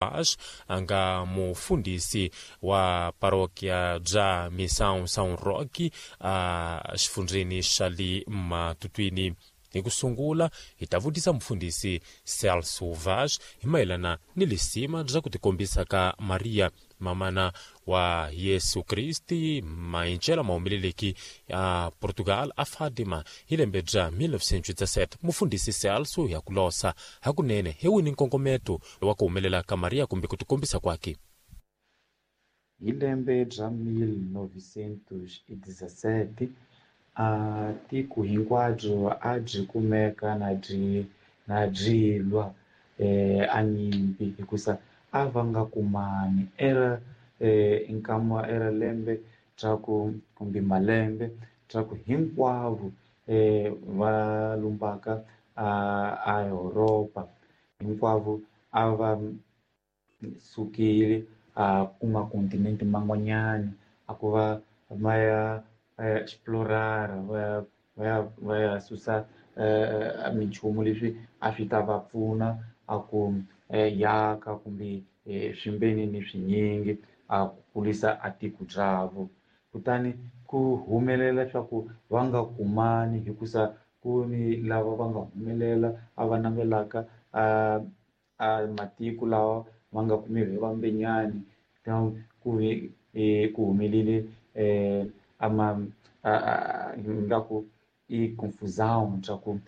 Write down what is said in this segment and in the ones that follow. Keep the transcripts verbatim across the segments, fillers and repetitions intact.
Vaz a nga mufundhisi wa parokia bya Missão São Roque a xifundzheni xa le Matutuini. Hi ku sungula hi ta vutisa mufundhisi Celso Vaz hi mayelana ni lisima bya ku tikombisa ka Maria mamana wa Yesu Kristi maenxela mahumeleleki ya Portugal a Fatima hi lembe bya mille neuf cent dix-sept. Mufundhisi Celso ya ku losa hakunene hi wini nkongometo wa ku humelela ka Maria kumbe ku tikombisa kwake. Hi lembe bya mille neuf cent dix-sept, a tiko hinkwabyo a byi kumeka na byi na byi lwa a nyimpi, hikusa a va nga kumani. Era nkama era lembe bya ku kumbe malembe bya ku hinkwavo va lumbaka a a Europa hinkwavo a va sukile a kuma continent man'wanyana, a ku va va ya va ya explorer, va ya va ya va ya susa minchumu leswi a swi ta va pfuna a ku yaka kumbe swimbeni swinyingi a ku kulisa a tiko byavo. Kutani ku humelela swa ku va nga kumani, hikusa ku ni lava va nga humelela a va navelaka a a matiko lawa va nga kumiwi hi vambenyani. Ku ve ku humelele a ma ingaku i confusão swa ku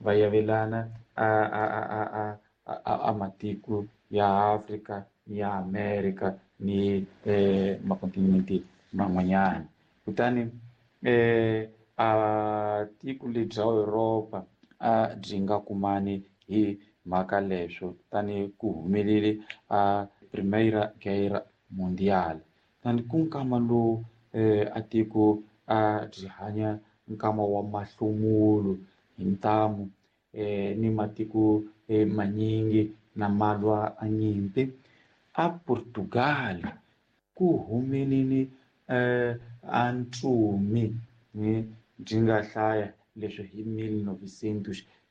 va yavelana a a a a a matiko ya Afrika, ya America ni makontinente man'wanyana. Kutani a tiko lebyi bya Europa a byi nga kumani hi mhaka leswo. Kutani ku humelele a Primeira Guerra Mundial. Kutani ku nkama lowu a tiko a byi hanya nkama wa mahlomulo hi ntamu, ni matiko manyingi na malwa a nyimpi. A Portugal ku humelele a ntsumi byi nga hlaya leswi hi mille neuf cent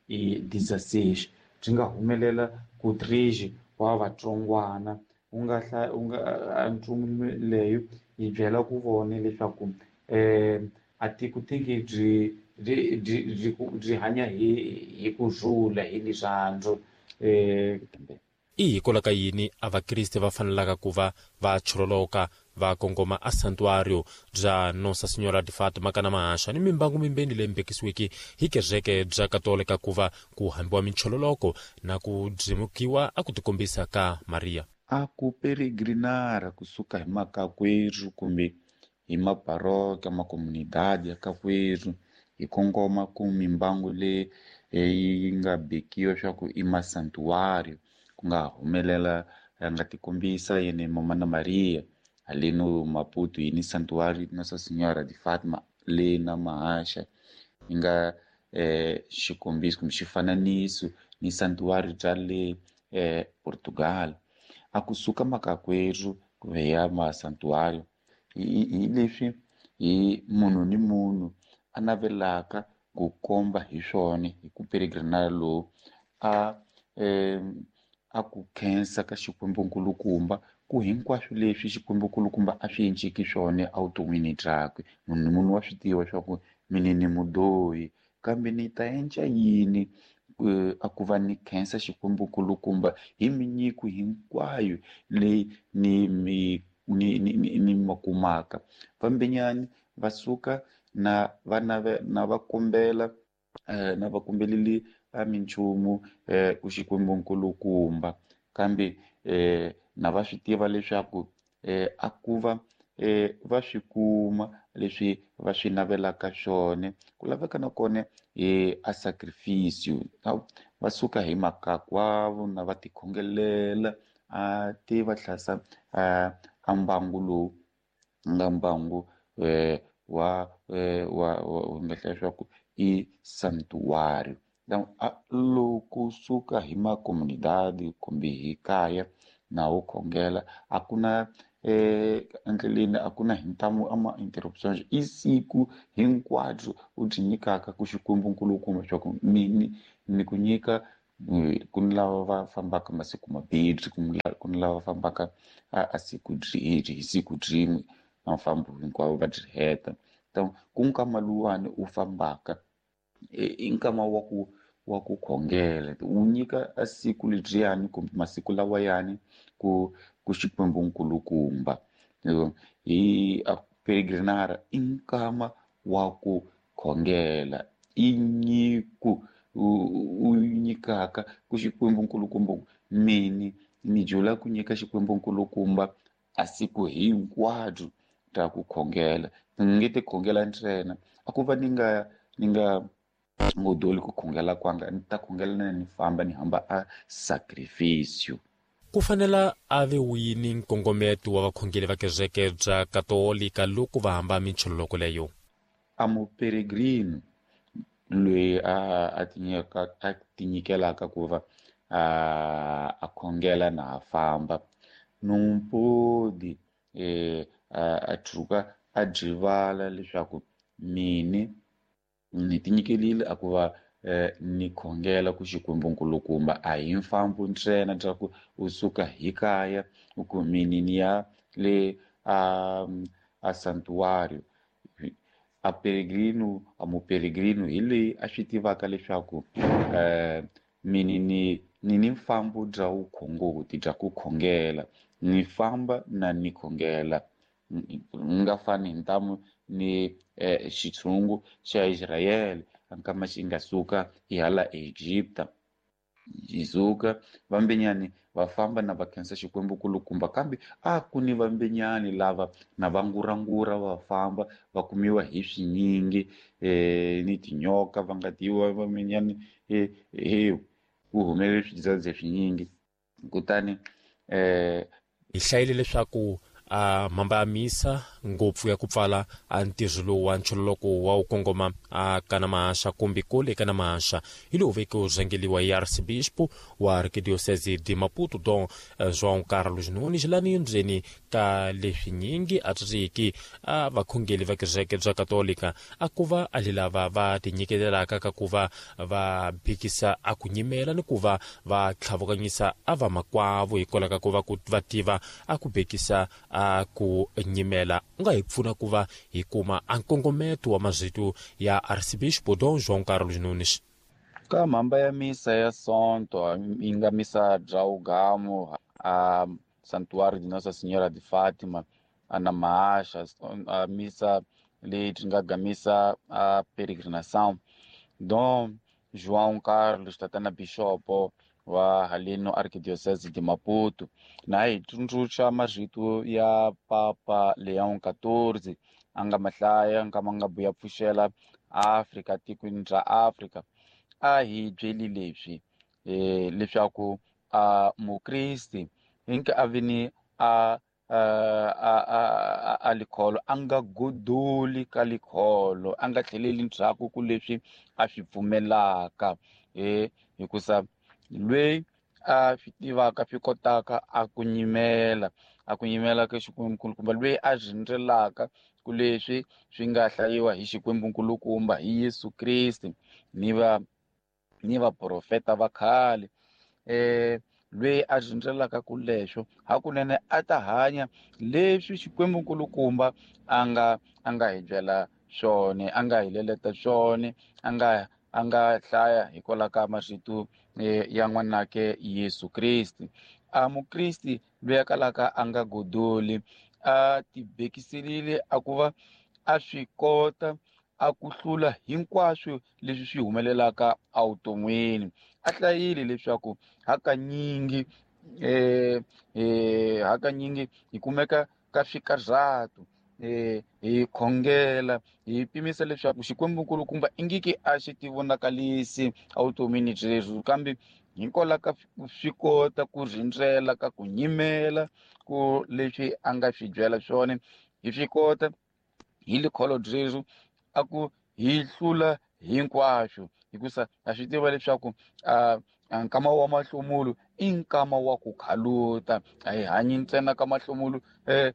dix-six, byi nga humelela ku trije wa vatsongwana. U nga hlaya u nga a ntsumi leyo yi byela ku vona leswaku a tiko tiki byi byi byi byi hanya hi hi kurhula, hi rirhandzu. I hikwalaho ka yini a vakriste va fanelaka ku va va choroloka va kongoma a santuario bya Nossa Senhora de Fatima kana mahaxa ni mimbangu mimbeni leyi mbekisiweke hi kereke bya Katolika ku va ku hambiwa minchololoko na ku byimukiwa a ku tikombisa ka Maria? A ku peregrinara kusuka hi makakwerhu kumbe hi mabaroka makomunidade ya kakwerhu hi kongoma ku mimbangu leyi yi nga bekiwa swa ku i masantuario, ku nga humelela a nga tikombisa yene mama na Maria haleno Maputo yi ni santuario Nossa Senhora de Fatima le na mahaxa, yi nga eh, xikombiso kumbe xifananiso ni santuario bya le eh, Portugal. A kusuka makakwerhu ku ya masantuario hi leswi hi munhu ni munhu a navelaka ku komba hi swona hi ku peregrinara lowu a eh, a ku khensa ka Xikwembu nkulukumba ku hinkwaswo leswi Xikwembu nkulukumba a swi enciki swona evuton'wini byakwe. Munhu ni munhu wa swi tiva swa ku mina ni mudyohi, kambe ni ta endla yini a ku va ni khensa Xikwembu nkulukumba hi minyiko hinkwayo leyi ni mi ni ni ni, ni ma kumaka. Vambenyani va suka na va nave na va kombela na va kombelele a minchumu ku Xikwembu nkulukumba, kambe na va swi tiva leswaku a ku va va swi kuma leswi va swi navelaka swona. Ku laveka na kona hi a sacrifice, va suka hi makakwavo na va tikhongelela a ti va hlasa a mbangu lowu nga mbangu wa wa nga hlaya swa ku i santuario. Loko suka hi makomunidade kumbe hi kaya na wo khongela, a ku na endleleni, a ku na hi ntamu a ma interruptions, i siku hinkwabyo u byi nyikaka ku Xikwembu nkulukumba swa ku mini ni ku nyika Ku ni lava va fambaka masiku mambirhi, ku ni lava fambaka a siku hi siku byin'we na mfambo hinkwawo va byi heta. Ku nkama luwani u fambaka i nkama wa ku wa ku khongela, wu nyika a siku lebyiyani kumbe masiku lawayani ku ku Xikwembu nkulukumba. Hi a peregrinara i nkama wa ku khongela, i nyiko u nyikaka ku Xikwembu nkulukumba. Mini ni jula ku nyika Xikwembu nkulukumba a siku hinkwabyo ra ku khongela. Ni nge te khongela ntsena, a ku va ni nga ni nga ngodoli ku khongela kwanga, ni ta khongela na ni famba ni hamba a sacrificio. Ku fanela a ve wini nkongometo wa vakhongeli va kereke bya Katolika loko va hamba minchololoko leyo? A muperegrino loyi a a tinyika a tinyikelaka ku va a a khongela na a famba numpodi eh a tshuka a dyivala leswaku mini ni tinyikelile a ku va ni khongela ku Xikwembu nkulukumba. A hi mfambo ntsena bya ku u suka hi kaya u ku mini ni ya le a a santuario. A peregrino a muperegrino hi leyi a swi tivaka leswaku eh mini ni ni ni mfambo bya vukhongoti bya ku khongela, ni famba na ni khongela. Ni nga fani hi ntamu ni xitshungu xa Israyele nkama xi nga suka hi hala Egipta, xi suka vambenyani va famba na va khensa Xikwembu kulukumba, kambe a ku ni vambenyani lava na va ngurangura va famba va kumiwa hi swinyingi eh ni tinyoka va nga tiwa vambenyani eh ku humelele swidzadze swinyingi. Kutani eh hi hlayile leswaku a mhamba ya misa ngopfu ya ku pfala a ntirho lowu wa nchololoko wa wu kongoma a kana mahaxa kumbe kule kana mahaxa hi lowu veke wu rhangeliwa hi arcebispo wa arkidiocese de Maputo Dom João Carlos Nunes lani ndzeni ka leswinyingi a tsiki a vakhongeli va kereke bya Katolika a ku va a lava va tinyiketelaka ka ku va va phikisa a ku nyimela ni ku va va tlhavukanyisa a va makwavo hikwalaho ka ku va ku va tiva a ku bekisa a ku nyimela. U nga hi pfuna ku va hi kuma a nkongometo wa mazito ya arcebispo Dom João Carlos Nunes? Ka mhamba ya misa ya Sonto yi nga misa bya Ugamo a Santuário de Nossa Senhora de Fátima a na Mahaxa, a misa leyi byi nga gamisa a peregrinação. Dom João Carlos tatana bishopo wa haleno arquidiocese de Maputo na hi tsundzuxa marito ya Papa Leon quatorze a nga mahlaya nkama nga buya pfuxela Afrika tikweni ra Afrika. A hi byeli leswi eh leswaku a mukristi hinke a vini a a a a likholo a nga godoli ka likholo, a nga tlheleli ndzhaku ku leswi a swi pfumelaka eh hikusa lweyi a swi tivaka swi kotaka a ku nyimela a ku nyimela ka Xikwembu nkulukumba, lweyi a rindzelaka ku leswi swi nga hlayiwa hi Xikwembu nkulukumba hi Yesu Kriste ni va ni vaprofeta va khale eh lweyi a rindzelaka ku leswo hakunene a ta hanya leswi Xikwembu nkulukumba a nga a nga hi byela swona, a nga hi leleta swona, a nga a nga hlaya hikwalaho ka marito ya n'wanake Yesu Kriste. A mukristi loyi a kalaka a nga godoli a tibekiselile a ku va a swi kota a ku hlula hinkwaswo leswi swi humelelaka evuton'wini. A hlayile leswaku hakanyingi eh eh hakanyingi hi kumeka ka swikarhato eh hi khongela hi pimisa leswaku Xikwembu nkulukumba ingiki a xi ti vonakalisi evutomini byerhu, kambe hikwalaho ka swi kota ku rindzela ka ku nyimela ku leswi a nga swi byela swona hi swi kota hi likholo byerhu a ku hi hlula hinkwaswo, hikusa ha swi tiva leswaku a nkama wa mahlomulo i nkama wa ku khaluta, a hi hanyi ntsena ka mahlomulo eh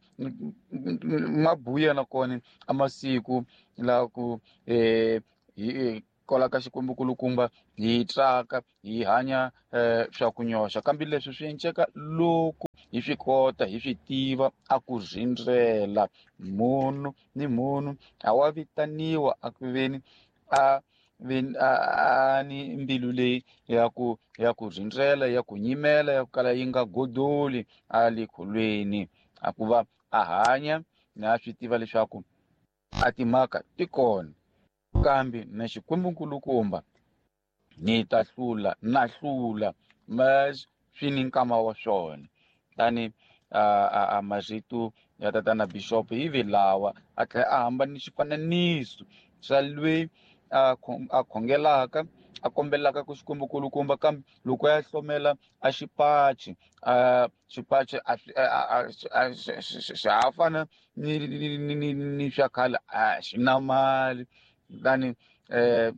mabuya nakona a masiku la ku eh hi Kwala ka Xikwembu kulukumba hi tsaka hi hanya eh, swa ku nyoxa, kambe leswi swi enceka loko hi swi kota hi swi tiva a ku rindzela. Munhu ni munhu a wa vitaniwa a ku veni a a ni mbilu leyi ya ku ya ku rindzela, ya ku nyimela, ya ku kala yi nga godoli a le kholweni, a ku va a hanya na swi tiva leswaku a timhaka ti kona, kambe na Xikwembu nkulukumba ni ta hlula na hlula, ma swi ni nkama wa swona. Tani a a marito ya tatana bishop hi vi lawa a tlhela a hamba ni xifananiso xa lweyi a a khongelaka a kombelaka ku Xikwembu kulukumba, kambe loko ya hlomela a xipachi a xipachi a a xa ha fana ni ni ni ni swa khale, a xi na mali. Kutani eh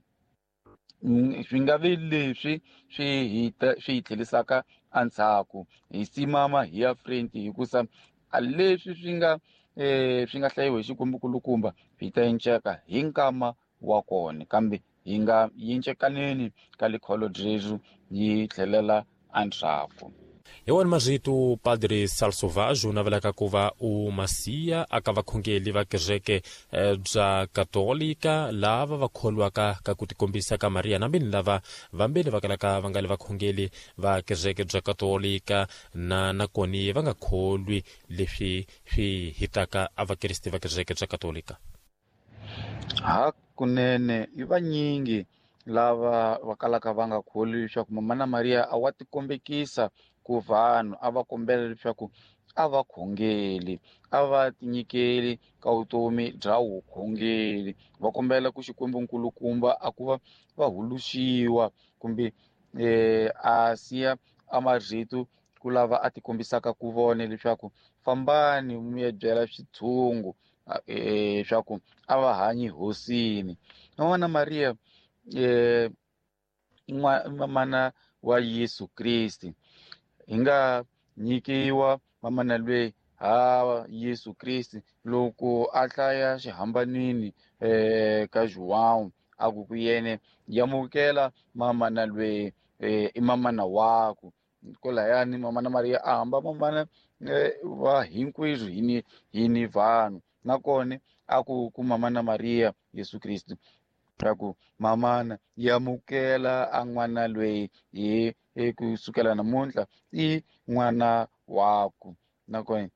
swi nga vi leswi swi hi swi hi tlhelisaka endzhaku, hi simama hi ya front, hikusa a leswi swi nga eh swi nga hlayiwa hi Xikwembu kulukumba swi ta enceka hi nkama wa kona, kambe hi nga yincekaneni ka likholo ryeru yi tlhelela endzhaku. Hi wona marito Padre Celso Vaz u navelaka ku va u masiya aka vakhongeli va kereke bya Katolika lava va kholwaka ka ku tikombisa ka Maria, na mbini lava vambeni va kalaka va nga le vakhongeli va kereke bya Katolika na nakoni va nga kholwi leswi swi hitaka a vakriste va kereke bya Katolika. Hakunene i vanyingi lava va kalaka va nga kholwi leswaku Mamana Maria a wa tikombekisa ku vanhu, a va kombela leswaku a va khongeli, a va tinyikeli ka vutomi bya vukhongeli, va kombela ku Xikwembu nkulukumba a ku va va huluxiwa kumbe eh, a siya a marito ku lava a tikombisaka ku vona leswaku fambani mi ya byela switshungu eh swa ku a va hanyi hosini. Mamana Maria eh mamana wa Yesu Kriste, hi nga nyikiwa mamana lweyi ha Yesu Kriste loko a hlaya xihambanini eh ka João a ku ku yene yamukela mamana lweyi eh, i mamana waku. Kolayani Mamana Maria a hamba mamana va hinkwerhu hi ni hi ni vanhu, nakona a ku ku Mamana Maria Yesu Kriste ku mamana yamukela a n'wana lweyi hi kusukela namuntlha i n'wana waku. Nakona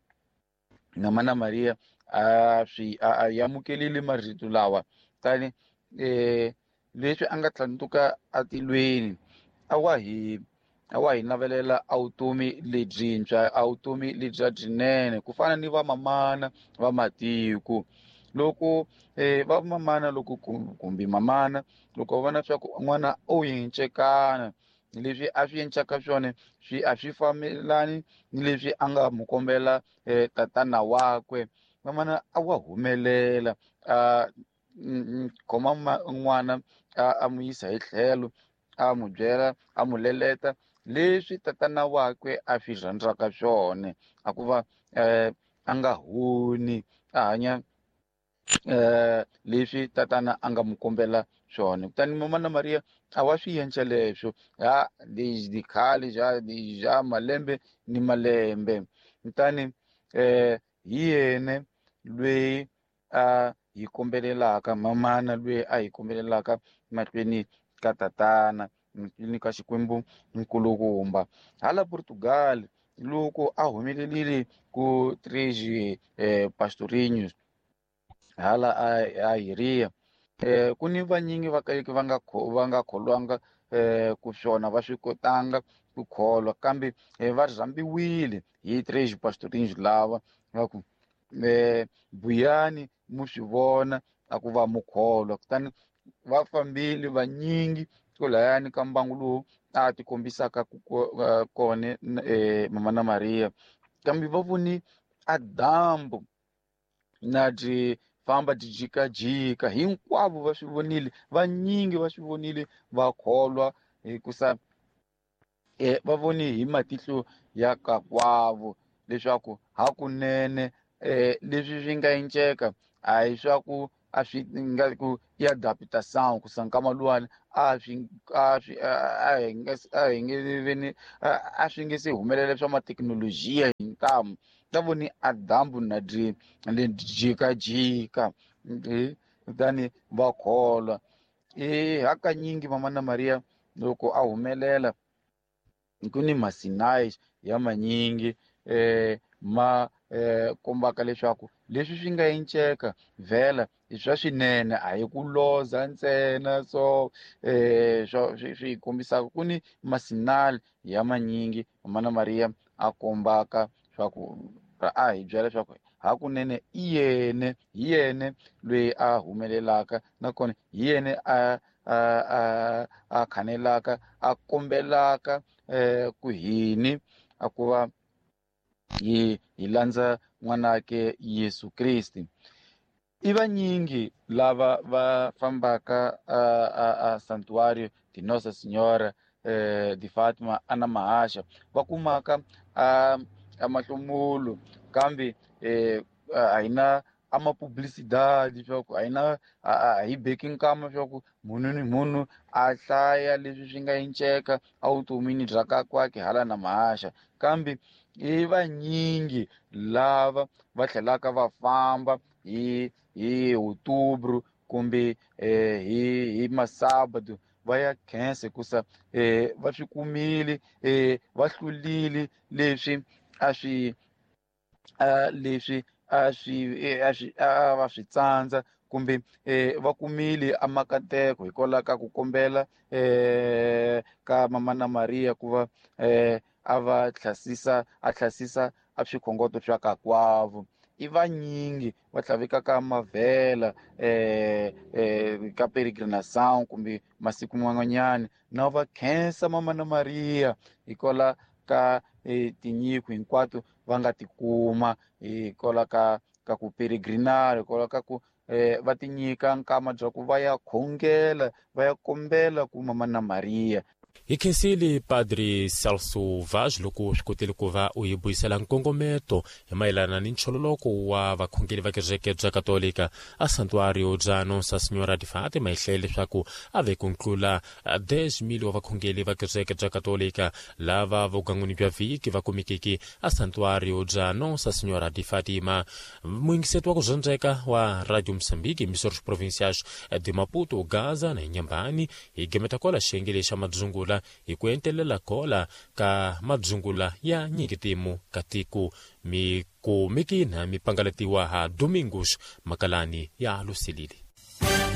Mamana Maria a swi a yamukelile marito lawa, tani eh leswi a nga tlhandluka atilweni a wa hi a wa hi navelela a vutomi lebyintshwa, a vutomi lebya byinene ku fana ni vamamana va matiko. Loko eh va mamana loko kumbe mamana loko va vona swa ku n'wana o yincekana, leswi a swi encaka swona swi a swi fambelani ni leswi a nga mu kombela eh, tatana wakwe, mamana a wa humelela a khoma n'wana a mu yisa hi tlhelo, a mu byela a mu leleta leswi tatana wakwe a swi rhandzaka swona, a ku va eh, a nga honi a hanya eh leswi tatana a nga mu kombela swona. Kutani Mamana Maria a wa swi endla leswo ha di khale ja ja malembe ni malembe. Kutani eh hi yena lweyi a hi kombelelaka, mamana lweyi a hi kombelelaka mahlweni ka tatana, mahlweni ka Xikwembu nkulukumba. Hala Portugal loko a humelelile ku Três eh, Pastorinhos hala a Iria eh ku ni vanyingi va ka va nga va nga kholwanga eh ku swona va swi kotanga ku kholwa, kambe va rhambiwile hi Três Pastorinhos lava va ku eh buyani mu swi vona a ku va mu kholwa. Kutani va fambile vanyingi kolayani ka mbangu lowu a ti kombisaka ku kona eh Mamana Maria, kambe va voni a dyambu na byi famba byi jikajika, hinkwavo va swi vonile, vanyingi va swi vonile va kholwa, hikusa eh va voni hi matihlo ya kakwavo leswaku hakunene eh leswi swi nga enceka a hi swa ku a swi nga ku i adaptação ku sankama luwani a swi a swi a hi nge a hi nge veni a swi nge se humelela swa mathekinolojiya hi ntamu ta voni a dyambu na dyi le jikajika kutani va kholwa. E hakanyingi Mama na Maria loko a humelela ku ni masinai ya manyingi eh ma eh kombaka leswaku leswi swi nga enceka vhela i swa swinene a hi ku loza ntsena so eh swa swi kombisaka ku ni masinali ya manyingi Mama na Maria a kombaka swa ku a hi byela leswaku hakunene i yene hi yene loyi a humelelaka nakona hi yene a a a a khanelaka a kombelaka eh ku hini a ku va hi hi landza n'wanake Yesu Kriste. I vanyingi lava va fambaka a a a Santuário de Nossa Senhora eh, de Fátima ana Mahasha va kumaka a a mahlomulo kambe eh, a hi na a mapublicidade leswaku a hi na a hi beki nkama leswaku munhu ni munhu a hlaya leswi swi nga enceka evutomini bya kakwake hala na Mahasha kambe i vanyingi lava va tlhelaka va famba hi hi outubro kumbe eh, hi hi masabado va ya khensa hikusa eh, va swi kumile eh, va hlulile leswi a swi a leswi a swi a swi a va swi tsandza kumbe eh, va kumile amakateko hikwalaho ka ku kombela eh, ka Mama na Maria ku va eh, a va hlasisa a hlasisa a swikhongoto swa kakwavo. I vanyingi va tlhavekaka mavhela eh, eh, ka peregrinação kumbe masiku man'wanyana na va khensa Mama na Maria hikwalaho ka eh, tinyiko hinkwato va nga tikuma hikwalaho ka ka ku peregrinar hikwalaho ka ku eh, va tinyika nkama bya ku va ya khongela va ya kombela ku Mama na Maria. Hi khensile Padre Celso Vaz loko swi kotile ku va u hi buyisela nkongometo hi mayelana ni nchololoko wa vakhongeri va kereke bya Katolika a Santuário bya Nossa Senhora de Fátima hi hlaya leswaku a ve ku ntlula dez mil wa vakhongeri va kereke bya Katolika lava vugangwini bya vhiki va kumekeke a Santuário bya Nossa Senhora de Fátima. Muyingiseti wa ku dyondzeka wa Radio Moçambique emissores provinciais de Maputo, Gaza na Inhambane hi gemeta kwala xiyenge xa madzungula hi ku entelela kola ka madzungula ya nyikitimu ka tiko mikumikina mi pangalatiwa ha Domingos Makalani ya Lusilili.